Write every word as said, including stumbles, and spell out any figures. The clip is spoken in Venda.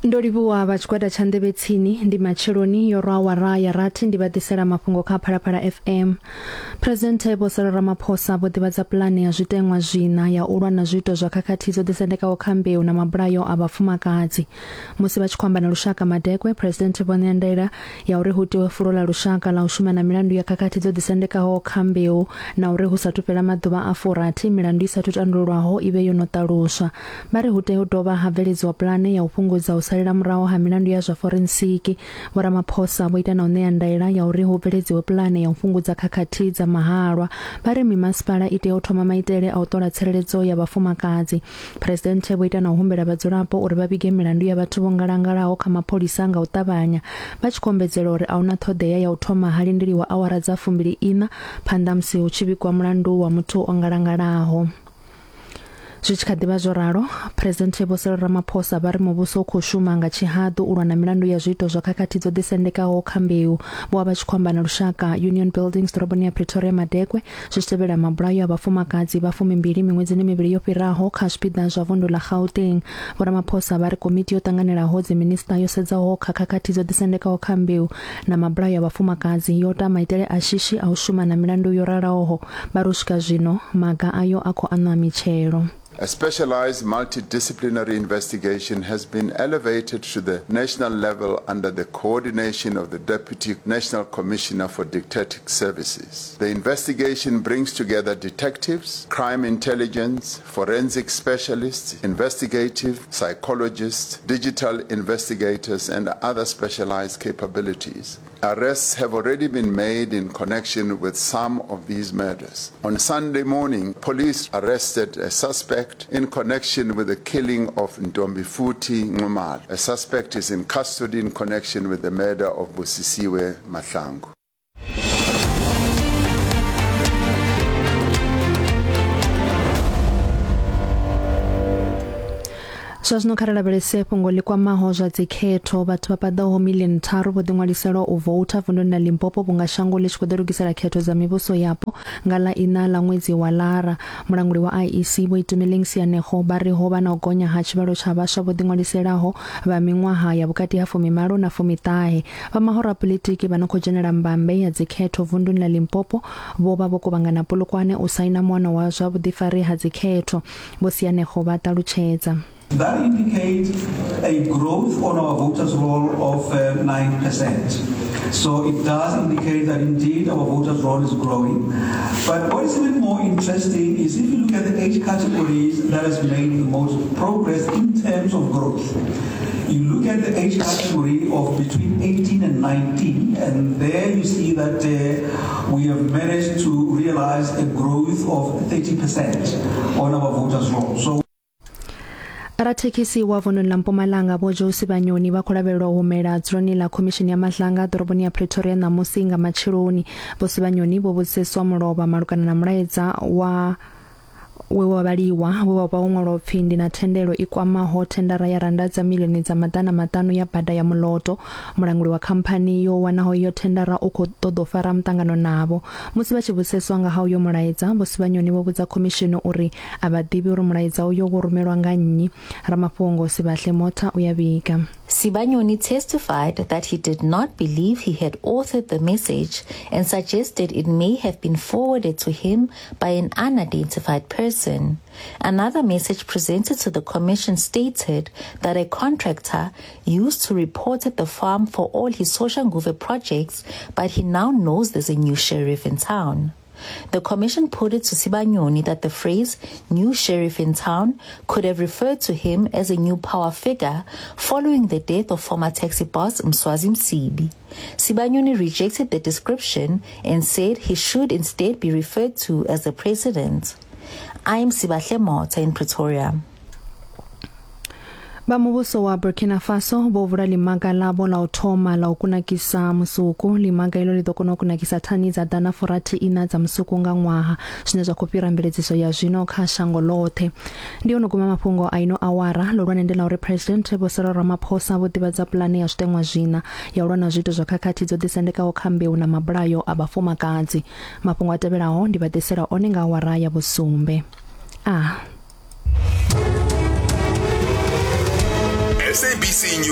Ndo livhuwa vha tshigwada tsha Nḓevhe Tsini. Ndi matsheloni yo rwa awara ya rathi, ndi vha ḓisela mafhungo kha Phalaphala F M. Presidenthe Vho Cyril Ramaphosa vho ḓivhadza pulane ya zwiteṅwa zwiṋa ya u lwa na zwiito zwa khakhathi dzo ḓisendekaho kha mbeu na mabulayo a vhafumakadzi. Musi vha tshi khou amba na lushaka madekwe, Presidenthe vho ṋea ndaela ya uri hu tiwe fulo ḽa lushaka ḽa u shuma na milandu ya khakhathi dzo ḓisendekaho kha mbeu na uri hu sathu fhela maḓuvha a furathi milandu i sathu tandululwaho i vhe yo no ṱaluswa. Vha ri hu tea u dovha ha bveledziwa pulane ya u fhungudza u salela murahu ha milandu ya zwa forensiki. Vho Ramaphosa vho ita na u ṋea ndaela ya uri hu bveledziwe pulane ya u fhungudza khakhathi dza mahalwa. Vha ri mimasipala i tea u thoma maitele a u ṱola tsireledzo ya vhafumakadzi. Presidenthe vho ita na u humbela vhadzulapo uri vha vhige milandu ya vhathu vho ngalangalaho kha mapholisa nga u ṱavhanya, vha tshi kombedzela uri a huna ṱhoḓea ya u thoma ha lindeliwa awara dza fumbili ina phanḓa musi hu tshi vhigwa mulandu wa muthu o ngalangalaho. Zwi tshi kha ḓivha zwo ralo, Presidenthe Vho Cyril Ramaphosa vha ri muvhuso u khou shuma nga tshihaḓu u lwa na milandu ya zwiito zwa khakhathi dzo ḓisendekaho kha mbeu. Vho vha vha tshi khou amba na lushaka Union Buildings ḓoroboni ya Pretoria madekwe, zwi tshi tevhela mabulayo a vhafumakadzi vha fumimbili miṅwedzini mivhili yo fhiraho kha zwipiḓa zwa vundu ḽa Gauteng. Vho Ramaphosa vha ri komiti yo ṱanganelaho dziminista yo sedzaho kha khakhathi dzo ḓisendekaho kha mbeu na mabulayo a vhafumakadzi yo ta maitele a shishi a u shuma na milandu yo raloho. Vha ri u swika zwino maga ayo a khou aṋwa mitshelo. A specialized multidisciplinary investigation has been elevated to the national level under the coordination of the Deputy National Commissioner for Detective Services. The investigation brings together detectives, crime intelligence, forensic specialists, investigative psychologists, digital investigators, and other specialized capabilities. Arrests have already been made in connection with some of these murders. On Sunday morning, police arrested a suspect in connection with the killing of Ntombifuthi Nxumalo. A suspect is in custody in connection with the murder of Busisiwe Mahlangu. Zwa zwino kha ri lavhelese fhungo ḽi kwamaho zwa dzikhetho. Vhathu vha paḓaho milioni tharu vho ḓiṅwalisela u voutha vunduni ḽa Limpopo vhunga shango ḽi tshi khou ḓilugisela khetho dza mivhuso yapo nga ḽa iṋa ḽa ṅwedzi wa Lara. Mulanguli wa I E C Vho Itumeleng Sianego vha ri ho vha na u gonya ha tshivhalo tsha vhaswa vho ḓiṅwaliselaho vha miṅwaha ya vhukati ha fumimalo na fumiṱahe. Vha mahoro a politiki vha no khou dzhenela mbambe ya dzikhetho vunduni ḽa Limpopo vho vha vho kuvhangana Polokwane u saina muano wa zwa vhuḓifari ha dzikhetho. Vho Sianego vha ṱalutshedza. That indicates a growth on our voters' roll of uh, nine percent. So it does indicate that indeed our voters' roll is growing. But what is even more interesting is if you look at the age categories that has made the most progress in terms of growth. You look at the age category of between eighteen and nineteen, and there you see that uh, we have managed to realize a growth of thirty percent on our voters' roll. So Rathekhisi wa vunḓu ḽa Mpumalanga Vho Joe Sibanyoni vha khou lavhelelwa u humela dzuloni ḽa khomishini ya Madlanga ḓoroboni ya Pretoria ṋamusi nga matsheloni. Vho Sibanyoni vho vhudziseswa mulovha malugana na mulaedza wa we wa vhaliwa we wa vha wo ṅwalwa upfi ndi na thendelo i kwamaho thendara ya randa dza milioni dza maḓana maṱanu ya bada ya Muloto. Mulanguli wa khamphani yo wanaho iyo thendara u khou ṱoḓa u fara muṱangano navho. Musi vha tshi vhudziseswa nga ha uyo mulaedza, Vho Sibanyoni vho vhudza khomishini uri a vha ḓivhi uri mulaedza uyo wo rumelwa nga nnyi. Ramafhungo Sibahle Motha u ya vhiga. Sibanyoni testified that he did not believe he had authored the message and suggested it may have been forwarded to him by an unidentified person. Another message presented to the commission stated that a contractor used to report at the farm for all his Soshanguve projects, but he now knows there's a new sheriff in town. The commission put it to Sibanyoni that the phrase new sheriff in town could have referred to him as a new power figure following the death of former taxi boss Mswazi Msibi. Sibanyoni rejected the description and said he should instead be referred to as the president. I'm Sibahle Motha in Pretoria. Vha muvhuso wa Burkina Faso vho vula ḽimaga ḽavho ḽa u thoma ḽa u kunakisa musuku. Ḽimaga ilo ḽi ḓo kona u kunakisa thani dza ḓana furathi ina dza musuku nga ṅwaha, zwine zwa khou fhira mveledziso ya zwino kha shango ḽoṱhe. Ndi ono guma mafhungo a ino awara. Ḽihulwane ndi ḽa uri President Vho Cyril Ramaphosa vho ḓivhadza pulane ya zwiteṅwa zwiṋa ya u lwa na zwiito zwa khakhathi dzo ḓisendekaho kha mbeu na mabulayo a vhafumakadzi. Mafhungo a tevhelaho ndi vha ḓisela one nga awara ya vhusumbe. Ah. S A B C News.